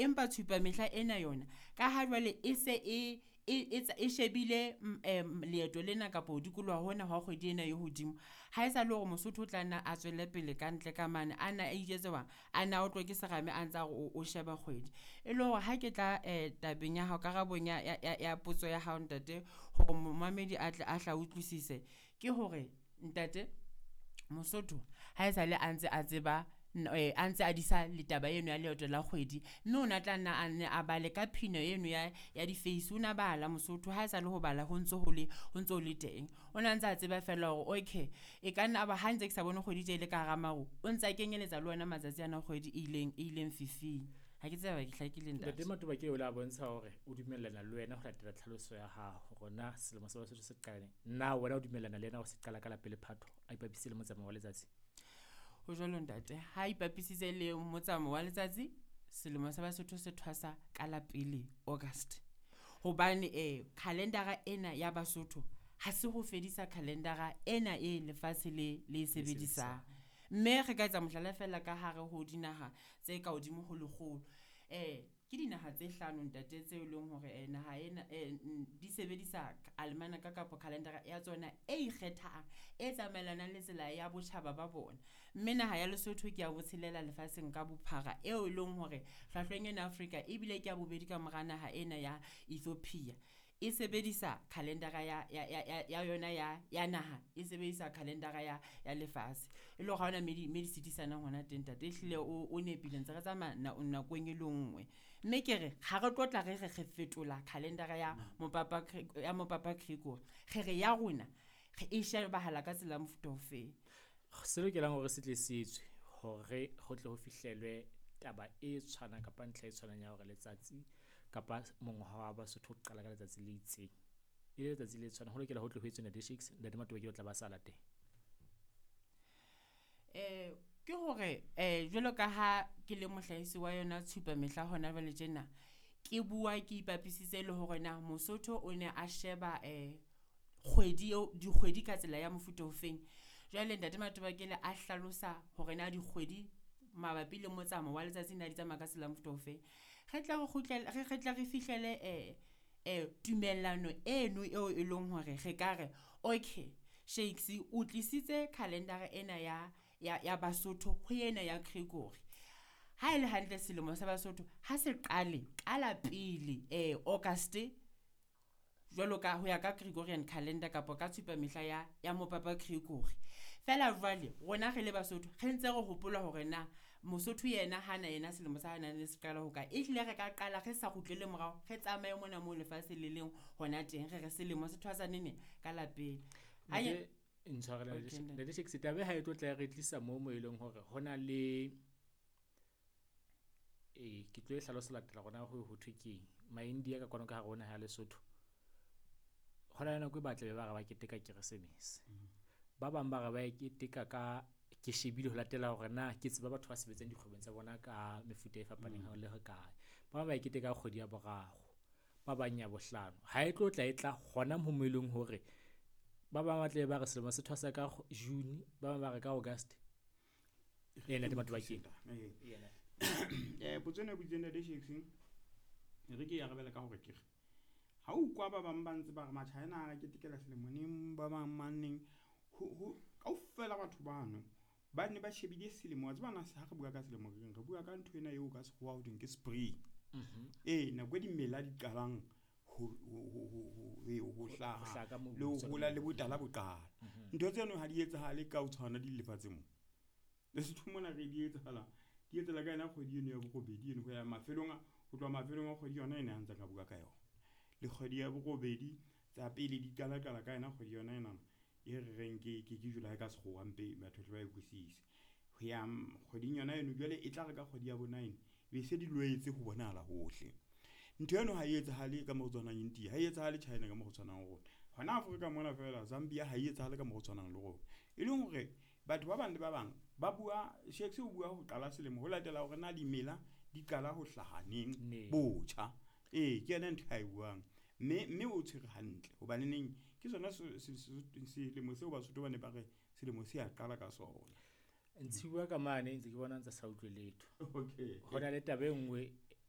Empa tshupamehla ena yona ka ha jwale e se e shebile leeto lena kapa ho dikoloha hona hwa kgwedi ena e hodimo. Ha e sa le hore Mosotho o tla nna a tswele pele ka ntle ka mane, a na a ijwetse hobang a na otlwe ke serame a ntsa re o sheba kgwedi. E le hore ha ke tla tabeng ya hao karabong ya potso ya hao ntate hore momamedi a tle a hla utlwisise. Ke hore ntate Mosotho ha esale a ntse a tseba a ntse a disa le taba eno ya leeto la kgwedi. Mme o na tla nna a nne a bale ka phino eno ya difeisi. O na bala Mosotho ha e sa le ho bala ho ntso ho le ho ntso le teng. O na ntsa tseba feela hore okay e ka nna ba ha ntse ke sa bone kgwedi tje e le ka hara maru, o ntsa kenyeletsa le ona matsatsi ana a kgwedi e ileng e ileng fifing. Ha ke tsebe ke hlakile ntate. Ntate Matobakele o la bontsha hore o dumellana le wena ho latela tlhaloso ya hao hore na selemo sa Basotho se qala neng. Na wena o dumellana le yena hore se qala ka la pele Phato a ipapisitse le motsamao wa letsatsi? Ho jwalo ntate, ha ipapisitse le motsamao wa letsatsi, selemo sa Basotho se thwasa ka la pele August. Hobane calendar-a ena ya Basotho ha se ho fedisa calendar-a ena e lefatshe le le sebedisang. Mme re ka etsa mohlala feela ka hare ho dinaha tse ka hodimo ho lekgolo. Ke dinaha tse hlano ntate tseo e leng hore naha ena di sebedisa almanaka kapa calendar-a ya tsona e ikgethang, e tsamaelanang le tsela ya botjhaba ba bona. Mme naha ya Lesotho ke ya botshelela lefatsheng ka bophara eo e leng hore hlwahlweng ena Afrika ebile ke ya bobedi ka mora naha ena ya Ethiopia. E sebedisa calendar-a ya yona ya naha, e sebedisa calendar-a ya lefatshe. E le hore ha hona me di sitisanang hona teng ntate. Ehlile o nepile ntse re tsamaya nakong e le nngwe. Mme ke re ha re tlotla re re re fetola calendar-a ya mopapa ya mopapa Gregory. Re re ya rona re e shebahala ka tsela ya mofuta o feng. Se lokelang hore se tle se etswe hore ho tle ho fihlelwe taba e tshwanang kapa ntlha e tshwanang ya hore letsatsi kapa mongwaha wa Basotho o qala ka letsatsi le itseng. E le letsatsi le tshwanang, ho lokela ho tle ho etswe Ntate Shakes, Ntate Matobakele o tla ba sa latela. Ke hore jwalo ka ha ke le mohlahisi wa yona tshupamehla hona jwale tjena, ke bua ke ipapisitse le hore na Mosotho o ne a sheba kgwedi eo dikgwedi ka tsela ya mofuta ofeng. Jwale ntate Matobakele a hlalosa hore na dikgwedi mabapi le motsamao wa letsatsi na di tsamaya ka tsela ya mofuta ofeng. Re tle re kgutlele re tle re fihlele tumellano eno eo e leng hore re ka re, okay Shakes o tlisitse calendar-a ena ya Basotho ho ena ya Gregory. Ha ele hantle selemo sa Basotho ha se qale ka la pele August jwalo ka ho ya ka Gregorian calendar kapa ka tshupamehla ya mopapa Gregory. Feela jwale rona re le Basotho re ntse re hopola hore na Mosotho yena hana yena selemo sa hae ne se qala ho kae. Ehlile re ka qala re sa kgutlele morao, re tsamaye mona moo lefatshe le leng hona teng. Re re selemo se thwasa neneng ka la pele. Ntate Ntate Shakes, taba ha e tlo tla re tlisa moo mo e leng hore ho na le ke tlo e hlalosa latela rona ho ho thwe keng. Ma-India ka kwano ka hare ho naha ya Lesotho. Ho na le nako e batla be ba re ba keteka Keresemese. Ba bang ba re ba e keteka ka ke shebile ho latela hore na ke tseba batho ba sebetsang dikgwebong tsa bona ka mefuta e fapaneng ha le ho kae. Ba bang ba e keteka kgwedi ya boraro, ba bang ya bohlano. Ha e tlo tla e tla hona moo mo e leng hore ba bang ba tla be ba re selemo se thwasa ka June, ba bang ba re ka August. Ena Ntate Matobakele. Potso ena e boditseng Ntate Shakes, e re ke e arabela ka hore ke re ha o kwa ba bang ba ntse ba re Machina a ketekela selemo neng, ba bang maneng, ho kaofela batho bano ba ne ba shebile selemo. Wa tseba na ha re bua ka selemo re reng? Re bua ka ntho ena eo ka sekgowa ho thweng ke spring. Nako e dimela di qalang ho hlaha le ho hola le botala bo qala. Ntho tseno ha di etsahale ka ho tshwana di lefatsheng mo. Lesotho mona re di etsahala, di etsahala ka yona kgwedi eno ya borobedi eno ho ya mafelong a, ho tloha mafelong a kgwedi yona ena a ntse ka bua ka yona. Le kgwedi ya borobedi tsa pele di qala qala ka yona kgwedi yona ena e re reng ke July ka sekgowa mpe batho ba e utlwisise. Ho ya kgweding yona eno jwale e tla re ka kgwedi ya bo 9 be se di loetse ho bonahala hohle. Ntho eno ha e etsahale ka mo tshwanang India, ha e etsahale China ka mo tshwanang rona. Hona Afrika mona feela Zambia ha e etsahale ka mo tshwanang le rona. E leng hore batho ba bang le ba bang ba bua, Shakes o bua ho qala selemo ho latela hore na dimela di qala ho hlaha neng botjha. Ke yona ntho a e buang. Mme o tshwere hantle hobane neng ke sona selemo seo Basotho ba ne ba re selemo se a qala ka sona. Ntshiwa ka mane ntse ke bona ntse sa utlwe letho. Okay. Ho na le taba e nngwe